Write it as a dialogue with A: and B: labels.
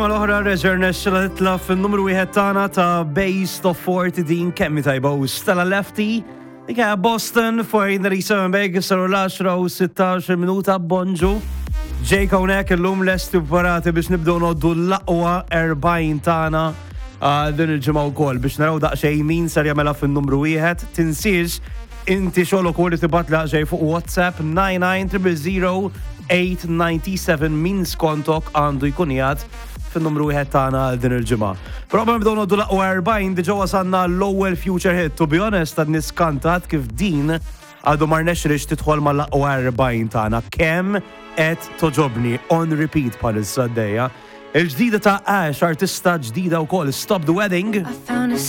A: Mal-oħra reġa' rnexxilha titla' fin-numru wieħed tagħna ta' Base Top 40 din kemm hi tajba u Stella Lefty. Dik hija Boston 497 bejk saru l-10 u 16 minuta bonġu. Jake hawnhekk illum lesti u preparati biex nibdew noddu l-aqwa 40 tagħna ah, din il-ġimgħa wkoll biex naraw daqsxejn min ser jagħmilha fin-numru wieħed. Tinsiex Inti xogħlok hu li tibgħat laqxej fuq WhatsApp 99 897 min skontok għandu jkun qiegħed fin-numru wieħed tagħna għal din il-ġimgħa. Però qabel nibdew ngħoddu l-aqwa 40 diġà wasalna l-ewwel future hit. To be honest, għadni skantat kif din għadu ma rnexxilix tidħol mal-aqwa 40 tagħna. Kemm qed toġobni on repeat bħalissa għaddejja. Il-ġdida ta' Ash, artista ġdida wkoll, Stop the Wedding.